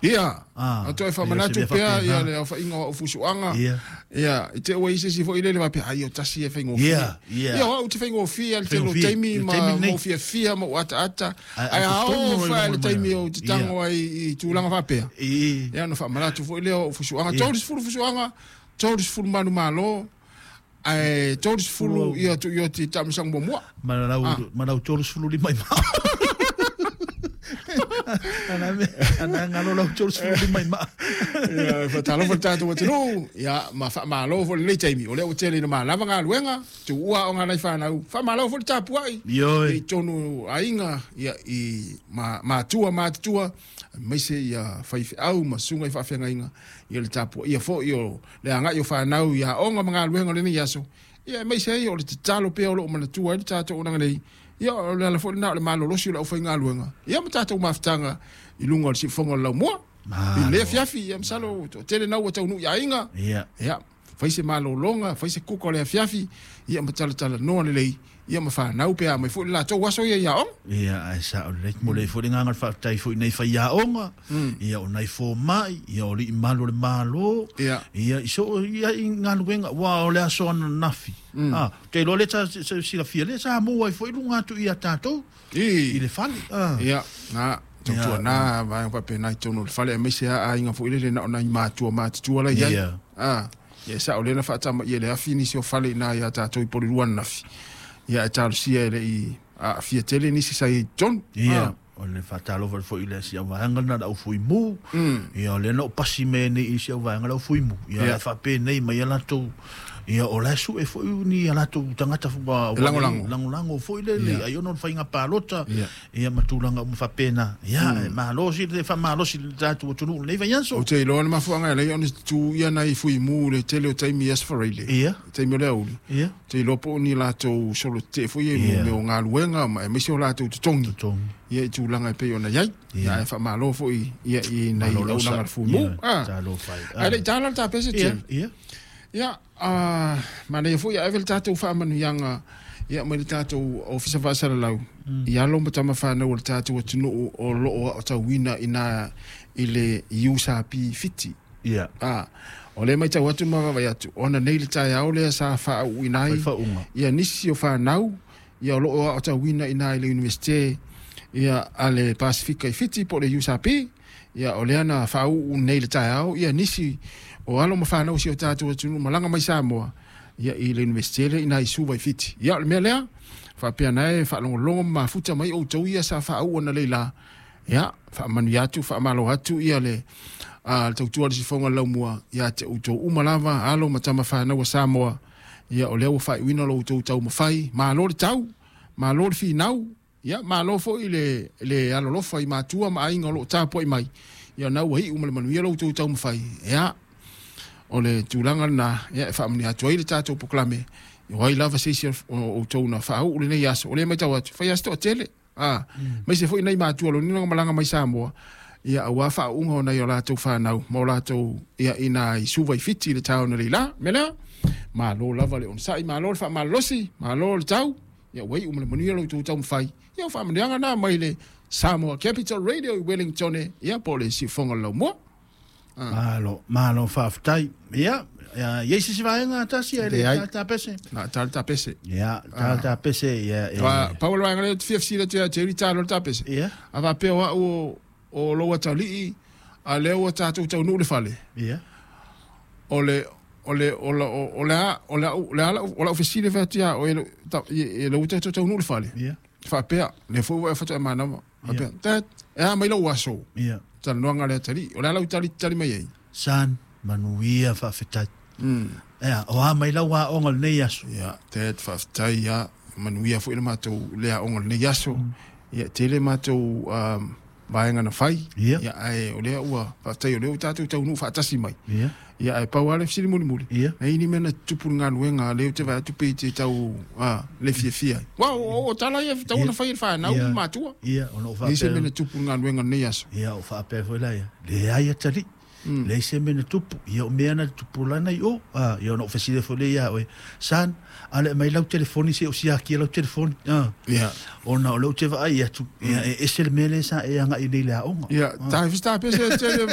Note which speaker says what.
Speaker 1: Ia, a toe faamanatu pea ia le aofaiga o au fusuaga. Ia, i te i ua i ai se isi foi lele faapea, ai o tasi e faigofie. Ia, o au ou te faigofie lava i le tele o taimi ma ou fiafia ma ou ataata. Ae a oo foi i le taimi ou te tago ai i tulaga faapea, ia ona faamanatu foi lea o au fusuaga. 30 fusuaga, 30 manumalo, ae 30 ia Tuioti taamilosaga muamua.
Speaker 2: Ma lau 35 i maa. Ana galo lau 35 i maa.
Speaker 1: Ia, faatalofa le tatou atunuu, ia, ma faamalo foi lenei taimi, o lea ua tele ina malava galuega, tuua aoga a nai fanau, faamalo foi le tapuai i totonu o aiga, ia, i matua matutua, aemaise ia faifeau ma susuga i faafeagaiga, ia le tapuaia foi o le agai o fanau i aoga ma galuega o lenei aso, ia aemaise ai o le tatalo pea o lo o manatua ai le tatou auaunaga nei, ia o le ala foi lena o le malolosi o le aufaigaluega, ia ma tatou mafutaga i luga o le siufofoga o le laumua. I lenei afiafi, ia masalo toatele na ua taunuu i aiga, ia fai se malologa, fai se kuka o le afiafi, ia ma talatalanoa lelei, ia ma fanau pe a aumai foi le latou aso ia i aoga.
Speaker 2: Ia, ae sao lelei. Momoli ai foi le agaga o le faafetai foi i nai faiaoga, ia o nai fomai, ia o alii malu o le Malo, ia i so o ia i galuega, aua o le aso ananafi, a, ou te iloa lea sa silafia, lea sa mu ai foi luga atu ia tatou i le fale.
Speaker 1: Ia, na, tautuana vaega faapena i totonu o le fale, aemaise lava aiga foi lele na o nai matua matutua la i ai. A, ia e sao lea na faatamaia e le afi nisi o fale i ina ia tatou i Porirua ananafi. Ia ae talosia e le i aafia tele nisi sa i ai i totonu.
Speaker 2: Ia, o le faatalofa foi i le si au vaega lena le au fuimu. Ia, o lea na ou pasi mai nei i si au vaega le au fuimu. Ia, la e faapenei mai a latou. Ia, o la e sue foi ni a latou tagata
Speaker 1: e lagolago.
Speaker 2: Lagolago foi lele, ai ona o le faiga palota. Ia ma tulaga uma faapena. Ia, e malosi le faamalosi le tatou atunuu i lenei vaiaso.
Speaker 1: Ou te iloa le mafuaaga e ala ai ona tu ia nai fuimu i le tele o taimi i Aso Faraile,
Speaker 2: i
Speaker 1: taimi o le aoauli. Ou te iloa po o ni latou solo tetee foi ia i mea o galuega ma aemaise o latou totogi, ia i tulaga e pei ona i ai. Ia ae faamalo foi ia i nai auaunaga a le fuimu. Ae le i tala le tapese Jerry. Ia, A manaia foi ia ave le tatou faamanuiaga ia mai le tatou Ofisa Faasalalau i alo ma tama fanau o le tatou atunuu o lo o aotauina ina i le USAP Fiti.
Speaker 2: Ia.
Speaker 1: A, o lea e matau atu ma vaavaai atu, ona nei le taeao lea sa faauuina ai ia nisi o fanau ia o lo o aotauina ina i le Iunivesite ia a le Pasefika i Fiti po o le USAP. Ia, o lea na faauu nei i le taeao ia nisi o alo ma fanau o si o tatou atunuu malaga mai Samoa ia i le Iunivesite lea ina i Suva i Fiti. Ia, o le mea lea, faapea na e faalogologo ma mafuta mai outou ia sa faauu analeila, ia, faamanuia atu, faamalo atu ia le a le tautua a le sifoga o le laumua ia te outou uma lava, alo ma tama fanau a Samoa. Ia, o lea ua faaiuina lo outou taumafai, malo le tau, malo le finau. Ia, malo foi le, le alolofa i matua ma aiga o lo o tapuai mai. Ia, o lena ua iu ma le manuia lo outou taumafai. Ia, o le tulaga lena, ia, e faamanuia atu ai le tatou polokalame. O ai lava se isi o outou na faauu lenei aso, o lea e matau atu, fai lava se toatele, a, aemaise foi nai matua loniga na malaga mai Samoa, ia, aua faauuga o nai o latou fanau ma o latou, ia, ina i Suva i Fiti i le taeao analeila. O le mea lea, malo lava le onosai, malo le faamalolosi, malo le tau. Ia ua iu ma le manuia lo outou taumafai. Ia o faamanuiaga na mai le Samoa Capital Radio i Wellingtone, ia po o le siufofoga o le laumua.
Speaker 2: Malo, malo faafetai. Ia, i ai se isi vaega tasi ae le i tala tapese?
Speaker 1: Na tala tapese.
Speaker 2: Ia, tala tapese, ia.
Speaker 1: Pau o le vaega lea ou te fia fesili atu ia Jerry, tala le tapese.
Speaker 2: Ia.
Speaker 1: A faapea o au o lou atalii, a lea ua tatou taunuu i le fale.
Speaker 2: Ia.
Speaker 1: O le o le o la o le a o le au le ala o lau fesili e fai atu ia oe e lou tatou taunuu i le fale.
Speaker 2: Ia.
Speaker 1: Faapea, lea foi ua e faatoa manava. Faapea, Dad, e a mai lou aso?
Speaker 2: Ia.
Speaker 1: Talanoaga a le atalii. O le a lau tali tali mai ai?
Speaker 2: Son, manuia faafetai. Ea, o a mai lau aoga o lenei aso?
Speaker 1: Ia, Dad, faafetai ia. Manuia foi le matou le aoga o lenei aso. Ia, tele matou vaega na fai.
Speaker 2: Ia.
Speaker 1: Ia, ae o lea ua, faafetai o lea ua tatou taunuu faatasi mai.
Speaker 2: Ia.
Speaker 1: Ia, ae pau lava le fesili mulimuli,
Speaker 2: Ia.
Speaker 1: na i ai ni mea na tutupu i le galuega, lea ou te vaai atu pei te tau, a, le fiafia ai. Aua o, o tala ia e tatau ona fai e le fanau ma matua.
Speaker 2: Ia, ona ou
Speaker 1: Leai se
Speaker 2: faapea.
Speaker 1: mea na tupu i le galuega i lenei aso.
Speaker 2: Ia, ou faapea foi la ia, leai atalii. Leai se mea na tupu. Ia o mea na tupu lana i o. A, ia ona ou fesili foi lea ia oe, Son, a le aumai lau telefoni se i ou siakia lau telefoni. A,
Speaker 1: Ia.
Speaker 2: ona o lea ou te vaai atu, ia e ese le mea lea sa e agai nei i le aoga.
Speaker 1: Ia, ta fista pese tele.